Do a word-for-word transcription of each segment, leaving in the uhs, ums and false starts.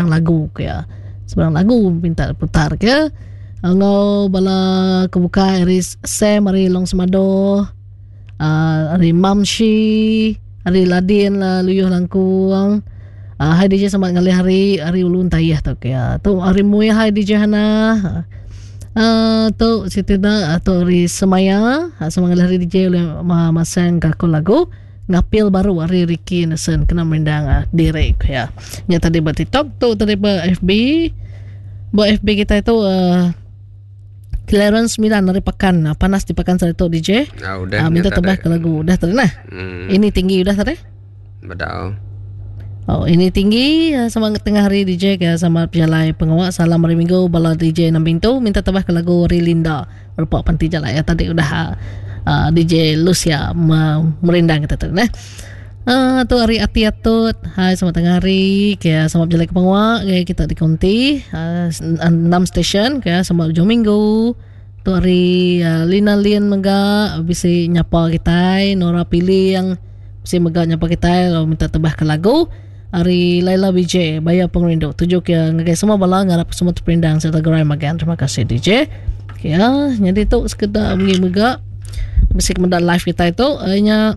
Sebarang lagu ke ya. Sebarang lagu minta putar ke. Enggau bala ke bukai ari Sam ari Long Semado, uh, ari Mamshi, ari Ladin lah Luyuh Langkung. Uh, hai D J selamat ngalih hari hari ulun tayah tu ke ya. Tu hari Muya hai D J Hana. Uh, tu Siti da tu hari Semaya, selamat ngalih hari D J oleh masang ke aku lagu ngapil baru hari Ricky Anderson kena merindang uh, direk ya. Nya tadi ba TikTok tu tadi ba F B. Ba F B kita itu uh, Clarence Milan dari Pekan panas di Pekan sari tu D J. Ah, udah uh, minta tebah ke lagu udah tadi nah. Hmm. Ini tinggi udah tadi? Bedau. Oh, ini tinggi sama tengah hari D J ke sama Jalai Pengawak. Salam hari Minggu bala D J enam pintu minta tebah ke lagu Rilinda Rupak Panti Jalai ya tadi udah uh, D J Lucia merindang kita tu nah. Uh, tu hari Ati Atut. Hai selamat tengah hari ke sama Jalai Pengawak ke kita di Konti uh, enam station ke sama hujung minggu. Tu hari uh, Lina Lin mega bisi nyapa kita Nora Pilih yang bisi mega nyapa kita lalu minta tebah ke lagu hari Laila B J Bayar Pengerindu tuju ke ngagai semua bala ngarap semua terperindang serta gerai magan. Terima kasih D J. Okay, ya, jadi tu sekedar megi mega bisi kemendak live kita itu hanya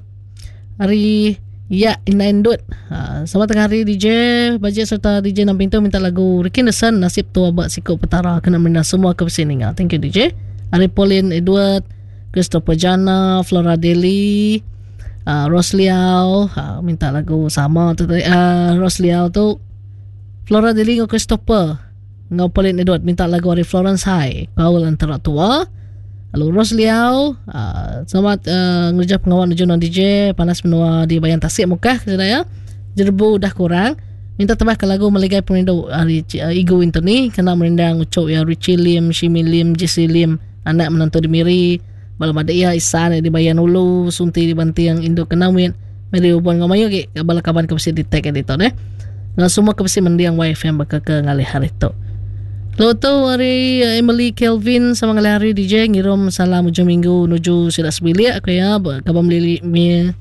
hari ya Inaindut. Ha, selamat tengah hari D J Bajet serta D J enam pintu minta lagu Ricky Anderson Nasib Tua Bak Sikuk Petara kena merindang semua ke sini. Thank you D J. Hari Pauline Edward, Christopher Jana, Flora Deli, Uh, Ros Liao uh, minta lagu sama tu tadi. Uh, Ros Liao tu Flora Deli dengan Christopher ngau Pauline Edward minta lagu dari Florence High Kaul Antara Tua. Lalu Ros Liao uh, selamat uh, ngerja pengawal nuju non D J panas menua di Bayan Tasik Mekah ke ya. Jerbu dah kurang minta tebah ke lagu Meligai Perindu hari uh, Igu Anthony kena merindang ucuk ya Richie Lim, Shimi Lim, Jesse Lim anak menantu di Miri. Balam ada ia Isan di Bayan Ulu, Sunti di Bantiang Induk Kenawin, Meri Ubon Ngamayu ke bala kaban ke besi di tag editor eh. Ngan semua ke besi mendiang wife yang bakal ke ngalih hari tu. Lalu tu hari Emily Kelvin sama ngalih hari D J ngirum salam hujung minggu nuju sidak sebilik aku ya kaban melili mi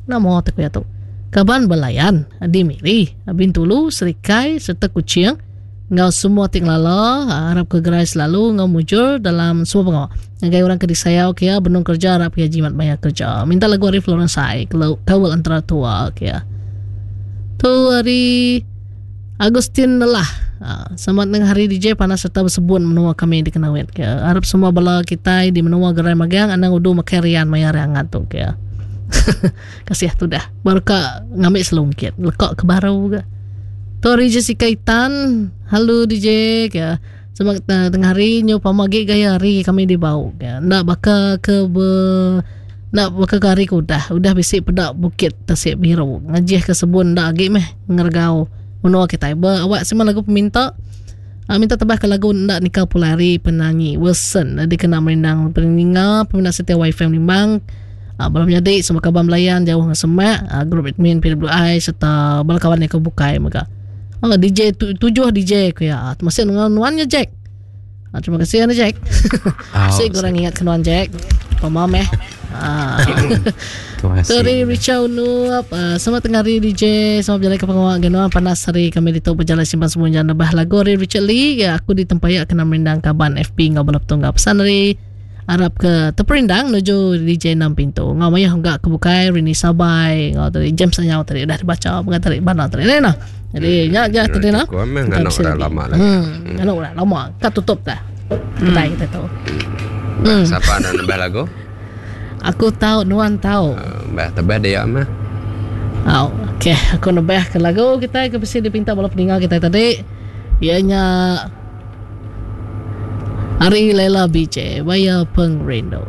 nama tu ya tu. Kaban belayan di Miri, Bintulu, Serikai serta Kuching. Ngau semua ting lala harap ke gerai selalu ngau mujur dalam semua pengawal. Ngagai orang ke disayau kia benung kerja harap kia jimat banyak kerja. Minta lagu hari Florence High kalau kawal antara tua kia. Tu hari Agustin lelah. Ha, selamat tengah hari D J panas serta bersebun menua kami di Kenawit kia. Harap semua bala kita di menua gerai magang anang udu makarian mayar hangat tu kia. Kasih tu dah. Baru ka ngambil selungkit lekak ke baru ke. Tu hari Jessica Itan. Halo D J ke. Selamat tengah hari nyu pamagi gaya hari kami di bau ke. Nak baka ke be, nak baka ke hari ke udah. Udah bisi pedak bukit Tasik Biru. Ngajih ke sebun dak agi meh ngergau menua kita. Be awak semua lagu peminta. Uh, minta tebah ke lagu nak nikah pulari penyanyi Wilson dikena merindang peninga peminat setia Wi-Fi Limbang. Uh, belum jadi semua kawan melayan jauh dengan semak uh, grup admin P W I serta bala kawan yang kebukai mega. Oh, D J tu, tujuh D J aku ya. Masih dengan nuannya Jack. Ah, terima kasih ya Jack. Oh, saya kurang ingat ke nuan Jack. Pemam eh. Ah. Terima kasih. Sorry Richard Unup. Uh, selamat tengah hari D J. Selamat berjalan ke pengawal genuan panas hari kami di tu berjalan simpan semua jalan lebah lagu hari Richard Lee. Ya, aku di Tempayak kena merindang kaban F P ngau balap tunggal pesan hari Arab ke terperindang menuju D J enam pintu. Ngau mayah enggak kebukai Rini Sabai ngau tadi James Anyau tadi dah dibaca mengatari bana tadi nah. Jadi nya nya tadi nah. Aku memang anak dah lama lagi. Hmm, anak dah lama. Kat tutup dah. Kedai kita tu. Hmm. Siapa nak nambah lagu? Aku tahu nuan tahu. Bah tebah dia mah. Oh, okey, aku nambah ke lagu kita ke besi dipinta bala pendengar kita tadi. Ianya Hari Laila B J Bayar Pengrindu.